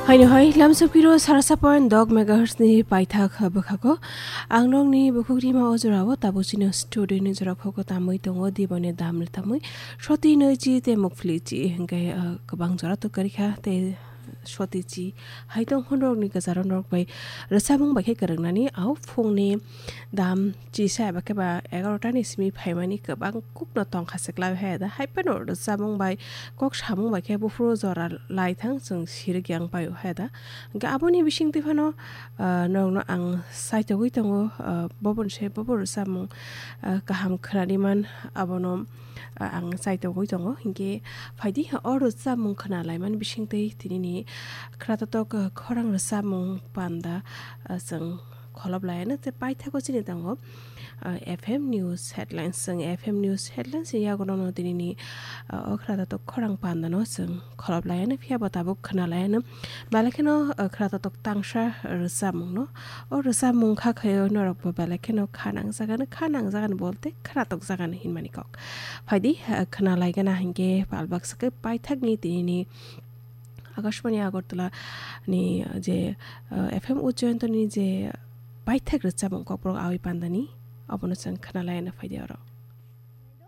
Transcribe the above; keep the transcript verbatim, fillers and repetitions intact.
Haino hai lamsapiro sarasa point dok megahertz ni paithak bwkhago. Ang nokni bukhuk rima o jorao tabuk chini studio ni jora khogo tamwi tongo, diboni dam tamwi soti nwi chi tei mukphli chi hwnkhe, ah, kwbang jora to kwrwikha tei soti chi hai tong hwnrokni kwcharo norok bai rwchapmung bai khe kwrwngnani au phungni dam chisa eba khe ba egarota ni simi phaimani kwbang kukno tongkha se klai hai da. Hai phano rwchapmung bai kok samung bai khe buphuru jora lai thang chwng sirwk yang pai hai da. Hwnkhe aboni bisingtwi phano, ah, norokno ang chaitogwi tongo, ah, boboni se bobo rwchapmung, ah, kaham khwnani man abono, ah, ang chaitogwi tongo. Hwnkhe phaidi o rwchapmung khwnalaimani bisingtwi tinini khwratotok, ah, khorang rwchapmung panda, ah, chwng kholop laiano tei paithago chini tongo, ah, F M News Headlines. Chwng F M News Headlines ni yagono no tinini, ah, o khwratotok khorang pandano chwng kholop laiano, phiya bo tabuk khwnalaiano. Belai kheno, ah, khwratotok tangsa rwchapmungno. O rwchapmung kha khaio norokbo belai kheno kha nangjagano, kha nangjagano bolte khwratok jagano hinmani kok. Phaidi, ah, khwnalaigana hinkhe pal baksa khe paithakni tinini Akashbani Agartala ni je, ah, F M Ujjayanto ni je paithak rwchapmung kokborok awi pandani, abono chwng khwnalaiano phaidi oro.